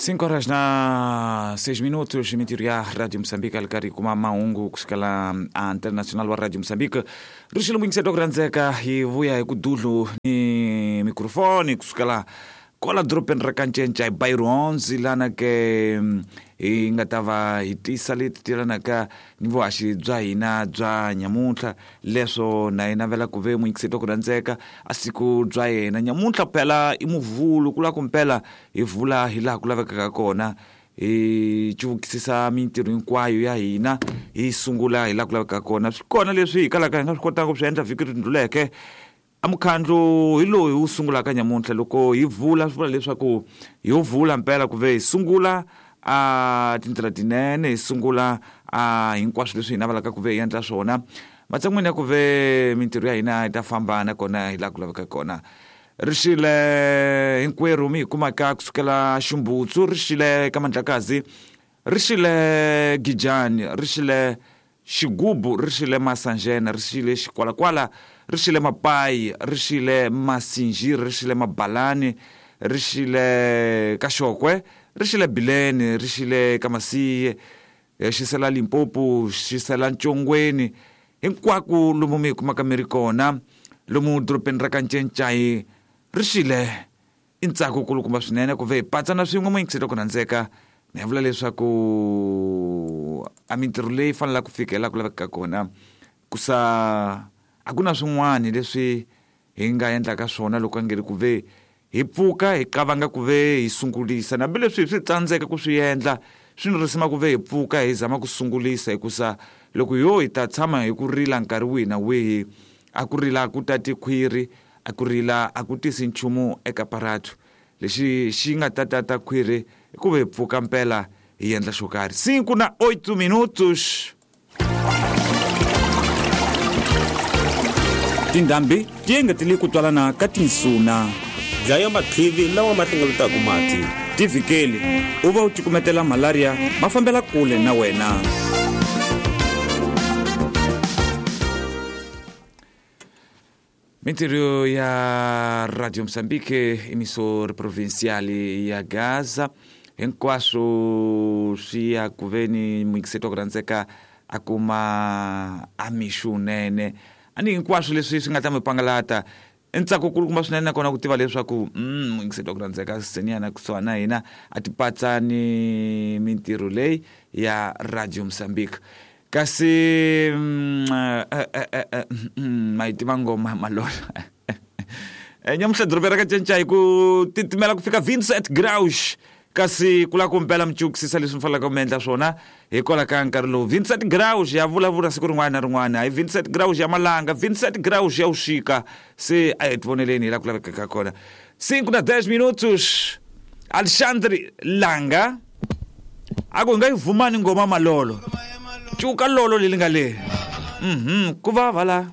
5 horas na 6 minutos, mintirho ya Rádio Moçambique ali karhi kuma mahungu kusukela a Internacional wa Radio Moçambique. Rixile muyingiseti wa ku rhandzeka, hi vuya hi ku dudlu ni mikrofoni kusukela kwala dorobeni ra Kancenca hi Bairro 11, lana ke hi nga ta va hi tisa leti tilanaka ni vuhaxi bya hina bya nyamuntlha. Leswo na hi navela ku ve muyingiseti wa ku rhandzeka a siku bya yena nyamuntlha phela i muvhulu, ku lava ku mpela hi vula hi laha ku lavekaka kona, hi cuvukisisa mintirho hinkwayo ya hina, hi sungula hi laha ku lavekaka kona. Swi kona leswi hi kalaka hi nga swi kotanga ku swi endla vhiki ri ndluleke. A mukhandlu hi lowu hi wu sungulaka nyamuntlha. Loko hi vula, swi vula leswaku hi yo vula mpela ku ve hi sungula a tindlela tinene, hi sungula a hinkwaswo leswi hi navelaka ku ve hi endla swona, matshan'wini ya ku ve mintirho ya hina yi ta famba nakona hi laha ku lavekaka kona. Rixile hinkwerhu mi hi kumaka kusukela Ximbutsu, rixile ka Mandlakazi, rixile Gijani, rixile Xigubu, rixile Masanjena, rixile Xikwalakwala, rixile Mapayi, rixile Masinjiri, rixile Mabalani, rixile Kaxokwe, rixile Bileni, rixile Kamasiye, xisela Limpopo, xisela Ntshongweni, hinkwako lomu mi hi kumaka mi ri kona lomu dorobeni ra Kancencayi. Rixile, i ntsako kulukumba swinene ku ve hi patsana swin'we muyingiseti ku rhandzeka. Ni ya vula leswaku a mintirho leyi fanelaka ku fika hi laha ku lavekaka kona, ku sa a ku na swin'wana leswi hi nga endlaka swona loko a nge ri ku ve hi pfuka hi qavanga ku ve hi sungulisa. Hambileswi hi swi tsandzeka ku swi endla, swi ni risima ku ve hi pfuka hi zama ku sungulisa, hikusa loko yo hi ta tshama hi ku rila nkarhi wihi na wihi, a ku rila ku tati khwiri, a ku rila a ku tisi nchumu eka paratu. Lexi xi nga ta tata khwiri i ku ve hi pfuka mpela hi endla xo karhi. 5 na 8 minutos. Tindhambi ti engetele ku twalana ka tinsuna. Dlaya matlivi lawa ma hlengeletaka mati. Tivhikeli u va u cukumetela malaria ma fambela kule na wena. Mintirho ya Radio Mozambique, emissor provincial ya Gaza, hinkwaswo swi ya ku veni muyingiseti wa ku rhandzeka a kuma a mixo wunene. A ni hinkwaswo leswi swi nga ta mi pangalata i ntsako kulukumba swinene nakona ku tiva leswaku muyingiseti wa ku rhandzeka seniyana kusuhani na hina a ti patsa ni mintirho leyi ya Radio Mozambique. Kasi ma yi tiva ngoma malola nyamuhla doroba ra ka Cinca hi ku titimela ku fika 27 graus, kasi ku lava ku mpela mi cukisisa leswi mi faneleke mi endla swona hikwalaho ka nkarhi lowu. 27 graus ya vulavula siku rin'wana na rin'wana, hayi 27 graus ya malanga, 27 graus ya vuxika. Se a hi tivoneleni hi laha ku lavekaka kona. 5 na 10 minutos. Alexandre Langa a ku hi nga yi vumani ngoma malolo, cuka lolo leri nga le ku vava la.